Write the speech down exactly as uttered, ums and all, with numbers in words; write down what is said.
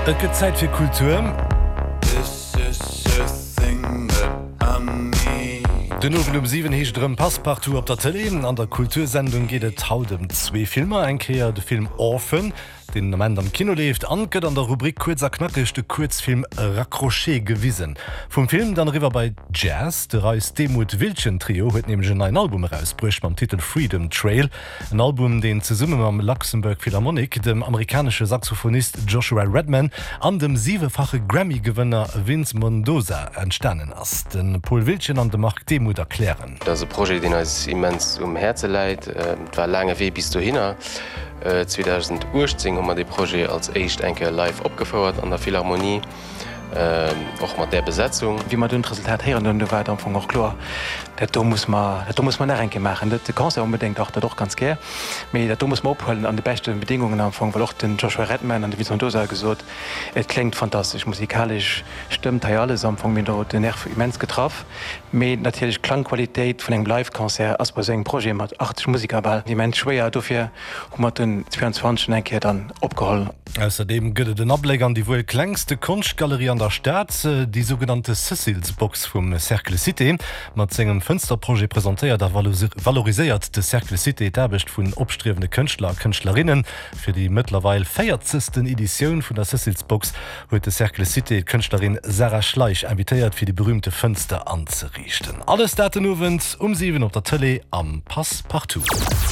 Et gëtt Zäit fir Kultur. Den Owend um siwen heescht et erëm Passepartout op der Tëlee. An der Kultursendung geet et haut ëm zwee Filmer, eng Kéier de Film Orphan, deen den Ament am Kino leeft, an et gëtt an der Rubrik Kuerz a Knackeg de Kuerzfilm Raccroché gewisen. Vum Film dann eriwwer bei Jazz, De Reis Demuth Wiltgen Trio huet nämlech en neien Album erausbruecht mam Titel Freedom Trail. En Album, deen zesumme mam Luxembourg Philharmonic, dem amerikanesche Saxophonist Joshua Redman an dem siwefache Grammy-Gewënner Vince Mendoza entstanen ass. De Paul Wiltgen an de Marc Demuth erklären. Dat ass e Projet, deen eis immens um Häerze läit. Et war e laange Wee bis dohinner. zweedausendachtzéng hu mer dee Projet als éischt eng Kéier live opgefouert an der Philharmonie, och mat där Besetzung. Wéi mer dunn d'Resultat héieren hunn, du war et am Fong och kloer, dat do muss mer, dat do muss mer nach eng Kéier maachen. Net de Concert onbedéngt, dach dat och ganz gär, mee dat do muss mer ophuelen an de beschte Bedingungen am Fong, well och den Joshua Redman an de Vincent Mendoza hu gesot, et kléngt fantastesch, musikalesch stëmmt hei alles am Fong. Mir hunn do den Nerv immens getraff. Mee natierlech d'Klangqualitéit vun engem Live-Concert ass bei esou engem Projet mat achtzeg Museker bal immens schwéier. Dofir hu mer den zweiundzwanzeg eng Kéier dann opgeholl. Ausserdeem gëtt et en Abléck an déi wuel klengste Konschtgalerie an der Stad, déi sougenannte Cecil's Box vum Cercle Cité. Mat sengem Fënsterprojet presentéiert a valoriséiert de Cercle Cité d'Aarbecht vun opstriewende Kënschtler a Kënschtlerinnen. Fir déi mëttlerweil véierzegsten Editioun vun der Cecil's Box huet de Cercle Cité d'Kënschtlerin Sarah Schleich invitéiert, fir déi berüümte Fënster anzeriichten. Alles dat den Owend um siwen op der Tëlee am Passe-Partout.